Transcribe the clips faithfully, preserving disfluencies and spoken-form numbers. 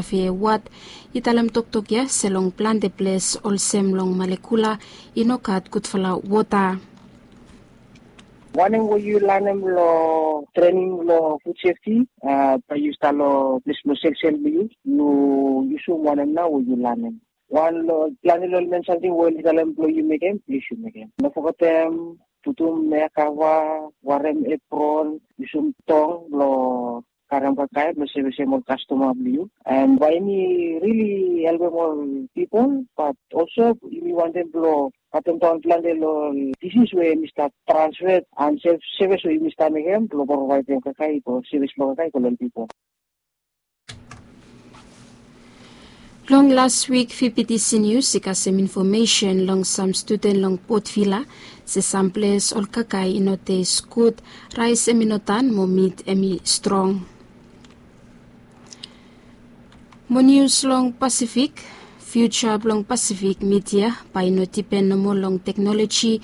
Fe Wat i talem toktok ya se long plante ples olsem long Malekula i no gat gudfala wota. Wanem we yu lanem long trening long food safety, a, bae yu stap long ples blong selsel blong yu, yu yusum wanem nao we yu lanem. Wan long plante long ol men samting we oli talem blong yu mekem, plis yu mekem. No fogetem putum ea kava, warem epron, yusum tong blong karem kakae blong sevesem ol kastoma blong yu. An bae yumi rili helpem ol pipol, bat olso yumi wantem blong katemdaon plante long ol disis we yumi stap transfer an sevis we yumi stap mekem blong provaedem kakae i go, sevis blong kakae i go long ol pipol. Long las wik, V P T C Nius i kasem infomesen long sam studen long Port Vila se sam ples ol kakae i no tes gud, raes hemi no tan mo mit hemi strong. Mo nius long Pasifik, fiuja blong Pasifik midia bae i no dipen nomo long teknoloji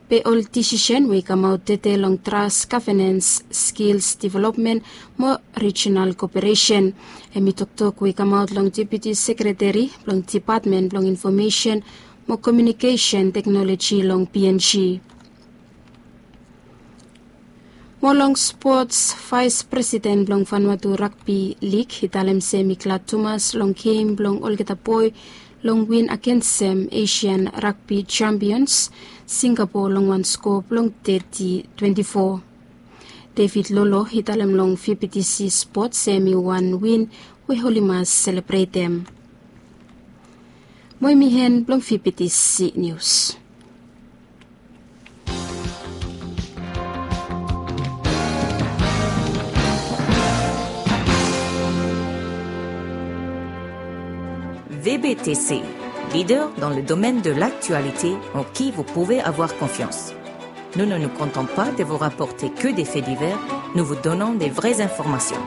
be ol disisen we i kamaot tede long tras, gavenens, skils developmen mo rijinal koperesen. Hemi toktok we i kamaot long Deputi Sekreteri blong Depatmen blong Infomesen mo Komiunikesen Teknoloji long P N G. Mo long spots, Vaes Presiden blong Vanuatu Ragbi Lig i talem se hemi glad tumas long gem blong olgeta boe long win agensem Asian Ragbi Champions Singapore long wan skoa blong teti twenti fo. David Lolo i talem long V P T C Spot se hemi wan win we oli mas selebretem. Mo hemi en blong V P T C Nius. V B T C, leader dans le domaine de l'actualité en qui vous pouvez avoir confiance. Nous ne nous contentons pas de vous rapporter que des faits divers, nous vous donnons des vraies informations.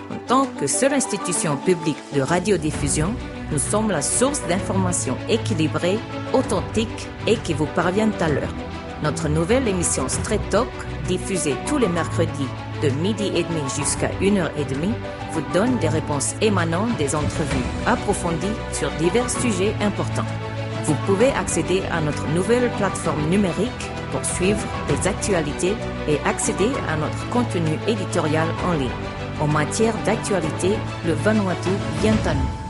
En tant que seule institution publique de radiodiffusion, nous sommes la source d'informations équilibrées, authentiques et qui vous parviennent à l'heure. Notre nouvelle émission Straight Talk, diffusée tous les mercredis de midi et demi jusqu'à une heure et demie, vous donne des réponses émanant des entrevues approfondies sur divers sujets importants. Vous pouvez accéder à notre nouvelle plateforme numérique pour suivre les actualités et accéder à notre contenu éditorial en ligne. En matière d'actualité, le Vanuatu vient à nous.